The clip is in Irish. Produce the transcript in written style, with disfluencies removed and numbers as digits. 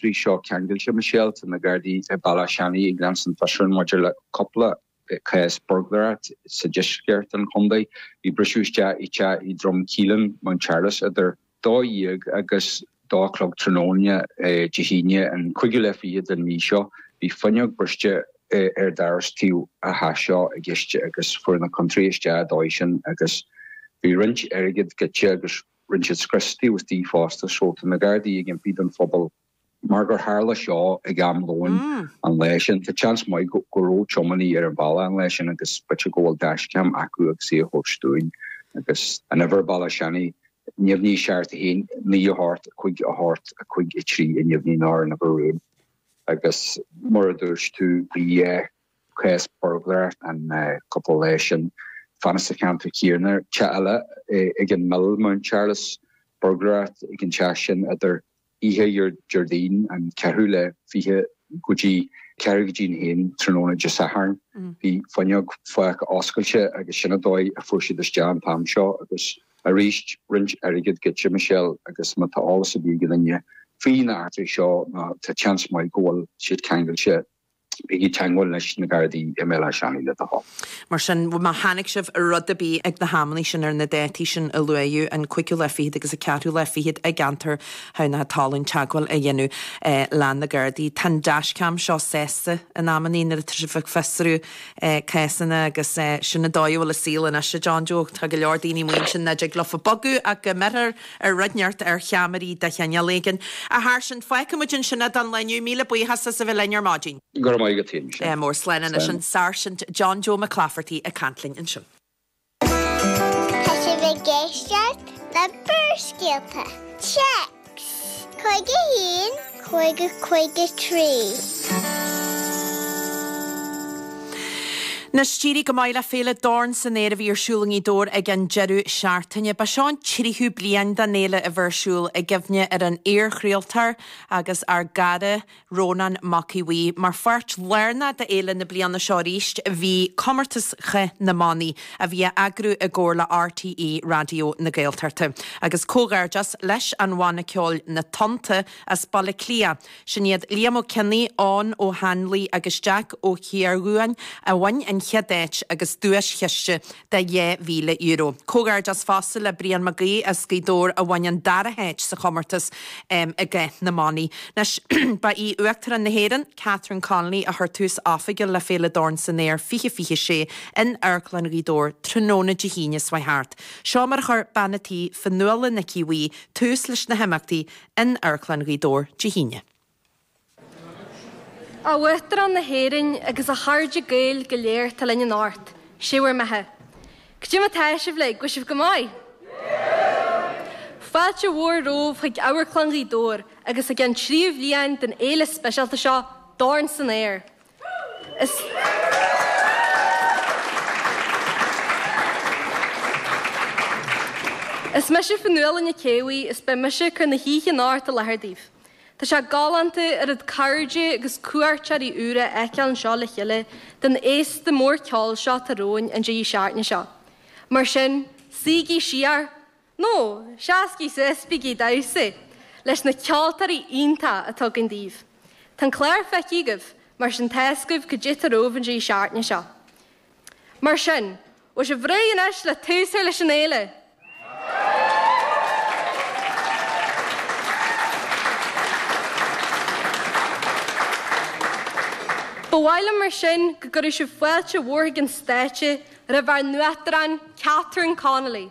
eachtraí seo ceangailte, Michelle. Tá na Gardaí i Béal Átha Seanaidh ag leanstan fiosrúchán maidir le cúpla cás buirgléireacht sa deisceart an chontae. Bhí briseadh isteach i teach i Droim Caoláin, Mountcharles idir 12 agus 2 a chlog tráthnóna Dé hAoine an cúigiú lá fichead den mhí seo. Bhí fuinneog briste ar doras taobh an teach seo i gceist agus fuair na contrálaithe isteach an dóigh sin agus bhí roinnt airgid goidte agus rinne siad scrios taobh istigh fosta so tá na Gardaí ag impí don phobal mar gur tharla seo ag am lóin an lae sin tá seans maith go raibh tiománaí ar an bhealach an lae sin agus b'fhéidir go bhfuil dashcam acu agus í a thabhairt dúinn agus an uimhir Béal Átha Seanaidh neamhní 7 1 9 8 5 8 5 3 a neamhní ná ar an uimhir rúin agus mar a dúirt tú bhí cás buirgléireacht an cúpla lá sin. Fanacht sa cheantar céanna, teach eile ag an Mill, Mountcharles, buirgléireacht ag an teach sin idir oíche Déardaoin an ceathrú lá 20 go dtí ceathrú go dtí an haon tráthnóna Dé Sathairn. Bhí fuinneog fágtha oscailte agus sin an dóigh a fuair siad isteach an t-am seo agus arís roinnt airgid goidte, Michelle, agus má tá eolas ar bith ag duine faoi na heachtraí seo nó tá seans maith go bhfuil siad ceangailte Bígí i dteangmháil leis na Gardaí i mBéal Átha Seanaidh le do thoil. Mar sin, má chonaic sibh rud ar bith ag na hamannaí sin ar na dátaí sin a luaíodh, an cúigiú lá fichead agus an ceathrú lá fichead i gceantar Thamhnach Talún, teagmháil a dhéanamh le na Gardaí. Tá an dashcam seo sásta in amannaí nuair atá sibh ag fiosrú cásanna agus sin an dóigh a bhfuil an saol anois, a John Joe. Tá go leor daoine amuigh ansin nach dtig leofa bogadh ach go mbeifear ar rud inteacht ar cheamaraí de chineál éigin. A Sháirsint, fágfaidh muid ansin é don lá inniu. Míle buíochas as a bheith linn ar maidin. Go raibh maith agat féin, Michelle. Mór slán anois an Sáirsint John Joe McClafferty ag caint linn ansin. Tá sibh ag éisteacht le Barrscéalta. Téacs 51 50 53. Anois, d'éirigh go maith le Féile Dorn san Aer a bhí ar siúl i nGaoth Dobhair ag an deireadh seachtaine. Ba seo an tríú bliain den fhéile a bheith ar siúl i gcuimhne ar an iar-chraoltóir agus ár gcara Rónán Mac Aodha Bhuí. Mar pháirt lárnach d'fhéile na bliana seo arís bhí Comórtas Chath na mBannaí a bhí á eagrú i gcomhar le RTÉ Raidió na Gaeltachta. Agus comhghairdeas leis an bhanna ceoil Na Tonnta as Baile Átha Cliath. Sin iad Liam Ó Cionnaith, Eoin Ó hAinlí agus Jack Ó Ciardhuáin a bhain an chéad áit agus duais-chiste de €2,000. Comhghairdeas fosta le Brian Mac Aoidh as Gaoth Dobhair a bhain an dara háit sa chomórtas i gCath na mBannaí. Anois, ba í Uachtarán na hÉireann, Catherine Connolly a chuir tús oifigiúil le Féile Dorn san Aer 2026 in Amharclann Ghaoth Dobhair tráthnóna Dé hAoine seo thart. Seo mar a chuir bean a' tí, Fionnuala Nic Aodha Bhuí, tús leis na himeachtaí in Amharclann Ghaoth Dobhair Dé hAoine. A Uachtarán na hÉireann agus a chairde Gaeil go léir atá linn anocht, sé bhur mbeatha. Cad é mar tá sibh uilig, bhfuil sibh go maith? Fáilte mhór romhaibh chuig Amharclann Ghaoth Dobhair agus chuig an tríú bhliain den fhéile speisialta seo, Dorn san Aer. Is Is mise Fionnuala Nic Aodha Bhuí is beidh mise ag cur na hoíche anocht i láthair daoibh. Tá sé galánta oiread cairde agus cuairteoirí úra a fheiceáil anseo le chéile don fhéasta mór ceoil seo atá romhainn an deireadh seachtaine seo. Mar sin, suígí siar, Nó, seascaigí suas, bígí ag damhsa leis na ceoltóirí iontacha atá againn daoibh. Tá an clár feicthe agaibh, mar sin tá's agaibh cad é atá romhaibh an deireadh seachtaine seo. Mar sin, bhfuil sibh réidh anois le tús a chur leis an fhéile? Ba mhaith liom mar sin go gcuirfeadh sibh fáilte mhór chuig an stáitse roimh ár nUachtarán, Catherine Connolly.